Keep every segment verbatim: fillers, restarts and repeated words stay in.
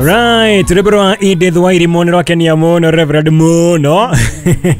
Right, rwĩmbo rwa Edith Wairimu nĩ rwakenia mũno Reverend mũno.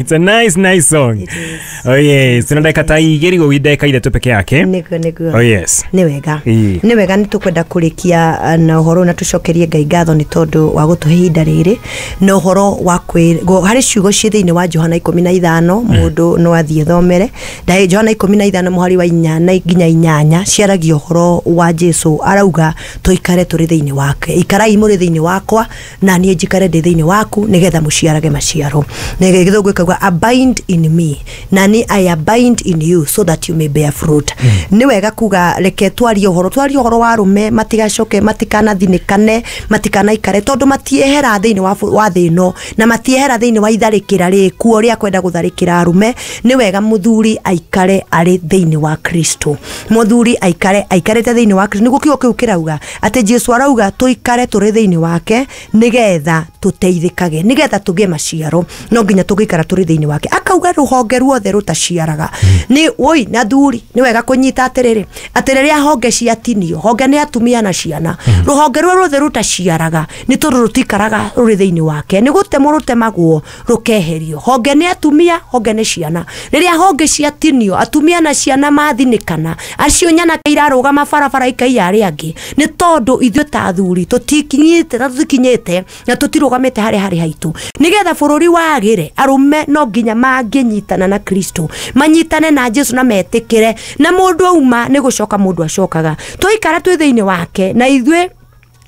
It's a nice nice song. It is. Oh yes, tuna dakika ta igĩrĩ gũgĩ ndagĩka ithatũ peke yake. Nĩguo nĩguo. Oh yes. Nĩ wega. Ĩĩ. Nĩ wega, nĩ tũkwenda kũrĩkia na ũhoro na tũcokerie Ngai ngatho nĩ tondũ wa gũtũhe ihinda rĩrĩ na ũhoro wa kwĩ harĩ ciugo ciĩ thĩinĩ wa Johana ikũmi na ithano, mũndũ no athiĩ thomere Ndaĩ Johana ikũmi na ithano mũhari wa inya na nginya inyanya, ciaragia ũhoro wa Jesu arauga tũikare tũrĩ thĩinĩ wake, ikarai mũrĩ thĩinĩ wakwa na niĩ njikare ndĩ thĩinĩ waku nĩgetha mũciarage maciaro. Na gĩthũngũ ĩkauga, "Abide in me," na ni "I abide in you so that you may bear fruit." Nĩ wega kuga reke twarie ũhoro twarie ũhoro wa arũme matigacoke, matikanathinĩkane, matikanaikare tondũ matiehera thĩinĩ wa bũ- wa thĩ ĩno na matiehera thĩinĩ wa itharĩkĩra rĩkuo rĩa kwenda gũtharĩkĩra arũme. Nĩ wega mũthuri aikare arĩ thĩinĩ wa Kristo, mũthuri aikare aikarĩte thĩinĩ wa Kristo. Nĩguo kiugo kĩu kĩrauga atĩ Jesu arauga tũikare tũrĩ thĩinĩ wake nĩgetha tũteithĩkage, nĩgetha tũgĩe maciaro, no nginya tũgĩikara tũrĩ thĩinĩ wake. Akauga rũhonge ruothe rũtaciaraga nĩ woi. Na thuri, nĩ wega kũnyita atĩrĩrĩ, atĩ rĩrĩa honge ciatinio, honge nĩ atumia na ciana, rũhonge rũu ruothe rũtaciaraga nĩ tondũ rũtikaraga rũrĩ thĩinĩ wake, nĩ gũtemwo rũtemagwo rũkeherio. Honge nĩ atumia, honge nĩ ciana. Rĩrĩa honge ciatinio, atumia na ciana mathinĩkana, acio nyanake irarũgama barabara ikaiya arĩa angĩ, nĩ tondũ ithuĩ ta athuri tũtikinyĩte na tũtikinyĩte na tũtirũgamĩte harĩa harĩ haitũ. Nĩgetha bũrũri wagĩre, arũme no nginya mangĩnyitana na Kristo, manyitane na Jesu na metĩkĩre na mũndũ auma nĩ gũcoka mũndũ acokaga, twaikara twĩ thĩinĩ wake na ithuĩ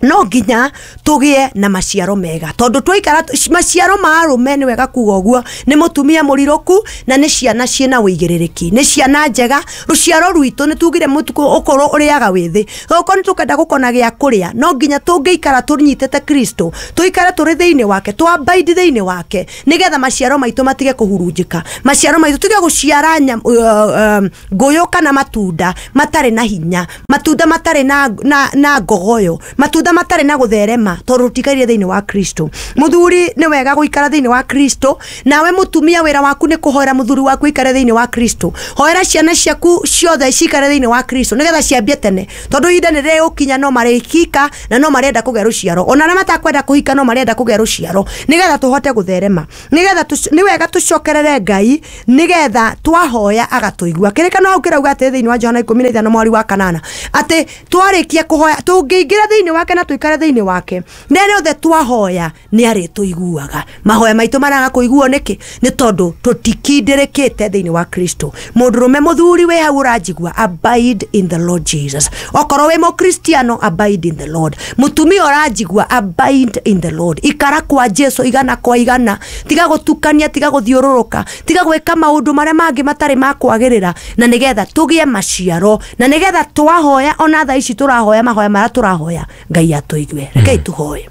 no nginya tũgĩe na maciaro mega, tondũ twaikara maciaro ma arũme, nĩ wega kuga ũguo, nĩ mũtumia mũrirũku na nĩ ciana ciĩna wĩigĩrĩrĩki, nĩ ciana njega. Rũciaro rwitũ nĩ tugire mũtukũ ũkorwo ũrĩaga wĩthĩ, okorwo nĩ tũkenda gũkona gĩa kũrĩa, no nginya tũngĩikara tũnyitĩte Kristo, tũikare tũrĩ thĩinĩ wake, tũ-abide thĩinĩ wake, nĩgetha maciaro maitũ matige kũhurunjĩka, maciaro maitũ tige gũciara nyam- uh, um, ngũyũ kana matunda matarĩ na hinya, matunda matarĩ na, na, na ngogoyo, matunda matarĩ na gũtherema, tondũ tũtikaire thĩinĩ wa Kristo. Mũthuri, nĩ wega gũikara thĩinĩ wa Kristo. Nawe mũtumia, wĩra waku nĩ kũhoera mũthuri waku ikare thĩinĩ wa Kristo. Hoera ciana ciaku ciothe cikare thĩinĩ wa Kristo, nĩgetha ciambie tene, tondũ ihinda nĩ rĩgũkinya no marĩhika na no marenda kũgĩa rũciaro, ona arĩa matakwenda kũhika no marenda kũgĩa rũciaro, nĩgetha tũhote gũtherema, nĩgetha tũc- nĩ wega tũcokerere Ngai, nĩgetha twahoya agatũigua. Kĩrĩkano hau kĩrauga atĩ thĩinĩ wa Johana ikũmi na ithano mweri wa kanana, atĩ twarĩkia kũhoya, tũngĩingĩra thĩinĩ wake na tũikare thĩinĩ wake, rĩrĩa othe twahoya nĩ arĩtũiguaga. Mahoya maitũ maraga kũiguo nĩkĩ? Nĩ tondũ tũtikindĩrĩkĩte thĩinĩ wa Kristo. Mũndũrũme, mũthuri wĩ hau ũranjigua, abide in the Lord Jesus. Okorwo wĩ mũkristiano, abide in the Lord. Mũtumia ũranjigua, abide in the Lord. Ikara kwa Jesu igana kwa igana, tiga gũtukania, tiga gũthiũrũrũka, tiga gwĩka maũndũ marĩa mangĩ matarĩ ma kwagĩrĩra, na nĩgetha tũgĩe maciaro, na nĩgetha twahoya, ona thaa ici tũrahoya, mahoya marĩa tũrahoya Ngai atũigue. Rekei tũhoye.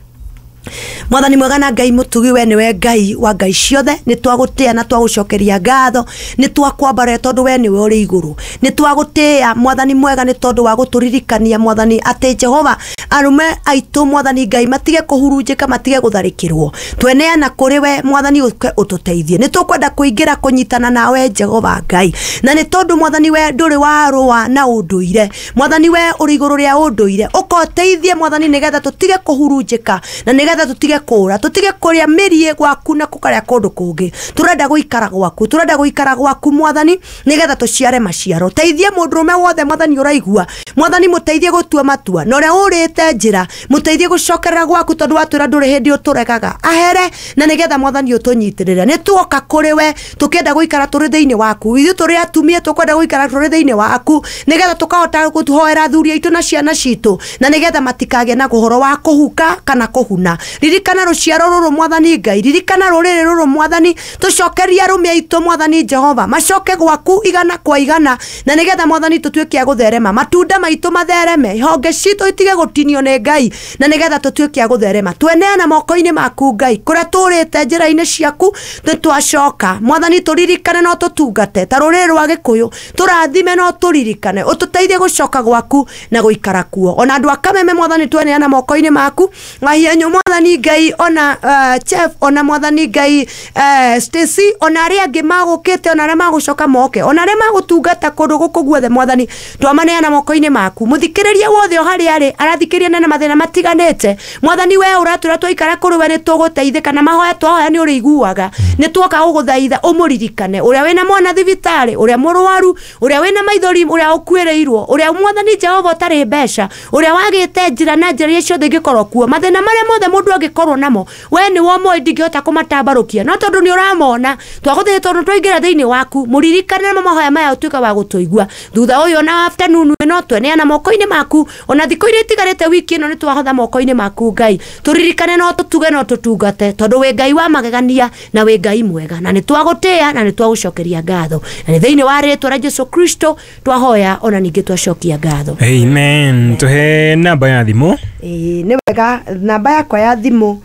Mwathani mwega na Ngai mũtugi, we nĩwe Ngai wa ngai ciothe. Nĩ twagũtĩa na twagũcokeria ngatho, nĩ twakwambarĩra tondũ we nĩwe ũrĩ igũrũ. Nĩ twagũtĩa, Mwathani mwega, nĩ tondũ wa gũtũririkania, Mwathani, atĩ Jehova, arũme aitũ, Mwathani Ngai, matige kũhurunjĩka, matige gũtharĩkĩrwo. Tweneana kũrĩ we, Mwathani, ũke ũtũteithie. Nĩ tũkwenda kũingĩra kũnyitana nawe, Jehova Ngai, na nĩ tondũ, Mwathani, we ndũrĩ warũa na ũndũire. Mwathani, we ũrĩ igũrũ rĩa ũndũire, ũkoteithie, Mwathani, nĩgetha tũtige kũhurunjĩka na nĩgetha tũtige kũra, tũtige kũrĩa mĩriĩ gwaku na kũkarĩa kũndũ kũngĩ. Tũrenda gũikara gwaku, tũrenda gũikara gwaku, Mwathani, nĩgetha tũciare maciaro. Teithie mũndũrũme wothe, Mwathani, ũraigua, Mwathani, mũteithie gũtua matua, na ũrĩa ũrĩte njĩra mũteithie gũcokerera gwaku, tondũ watwĩra ndũrĩ hĩndĩ ũtũregaga ahere, na nĩgetha, Mwathani, ũtũnyitĩrĩre. Nĩ tuoka kũrĩ we tũkĩenda gũikara tũrĩ thĩinĩ waku. Ithuĩ tũrĩ atumia tũkwenda gũikara tũrĩ thĩinĩ waku, nĩgetha tũkahota gũhoera athuri aitũ na ciana citũ, na nĩgetha matikagĩe na ũhoro wa kũhuka kana kũhuna. Ririkana rũciaro rũrũ, Mwathani Ngai, ririkana rũrĩrĩ rũrũ, Mwathani. Tũcokerie arũme aitũ, Mwathani Jehova, macoke gwaku igana kwa igana, na nĩgetha, Mwathani, tũtuĩke a gũtherema, matunda maitũ mathereme, honge citũ itige gũtinio nĩ Ngai, na nĩgetha tũtuĩke a gũtherema. Tweneana moko-inĩ maku, Ngai. Kũrĩa tũrĩte njĩra-inĩ ciaku, nĩ twacoka, Mwathani. Tũririkane no tũtungate ta rũrĩrĩ rwa Gĩkũyũ, tũrathime no tũririkane, ũtũteithie gũcoka gwaku na gũikara kuo. Ona andũ a Kameme, Mwathani, tweneana moko-inĩ maku. Mahianyũ, Mwathani. Mwathani Ngai ona uh, chef ona Mwathani Ngai uh, Stacy ona arĩa angĩ magũkĩte ona arĩa magũcoka moke ona arĩa magũtungata kũndũ gũkũ guothe Mwathani twamaneana moko-inĩ maku. Mũthikĩrĩria wothe o harĩa arĩ arathikĩrĩria na mathĩna matiganĩte Mwathani we ũratwĩra twaikara kũrĩ we nĩ tũgũteithĩka na mahoya twahoya nĩ ũrĩiguaga. Nĩ tuoka gũgũthaitha ũmũririkane ũrĩa wĩna mwana thibitarĩ, ũrĩa mũrwaru, ũrĩa wĩna maithori, ũrĩa ũkuĩrĩirwo, ũrĩa Mwathani Jehova ũtarĩ mbeca, ũrĩa wagĩte njĩra na njĩra iria ciothe ingĩkorwo kuo, mathĩna marĩa mothe mũndũ angĩkorwo namo we nĩ womoĩ ndingĩhota kũmatambarũkia no tondũ nĩ ũramona twagũthaitha tondũ twaingĩra thĩinĩ waku mũririkane na mahoya maya ũtuĩka wa gũtũigua. Thutha ũyũ ona afternoon ĩno tweneana moko-inĩ maku ona thikũ iria itigarĩte wiki ĩno nĩ twahotha moko-inĩ maku Ngai tũririkane no tũtuge no tũtungate tondũ wĩ Ngai wa magegania na wĩ Ngai mwega na nĩ twagũtĩĩa na nĩ twagũcokeria ngatho na nĩ thĩinĩ wa rĩtwa rĩa Jesu Kristo twahoya ona ningĩ twacokia ngatho. Amen. Tuhe namba ya thimũ. Ĩĩ nĩ wega namba yakwa ya thimũ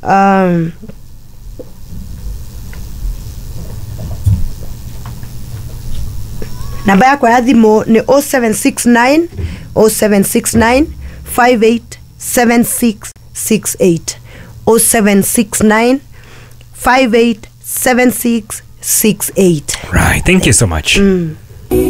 um, namba yakwa ya thimũ nĩ oh seven six nine oh seven six nine five eight seven six six eight oh seven six nine five eight seven six six eight. Right, thank you so much. Mm.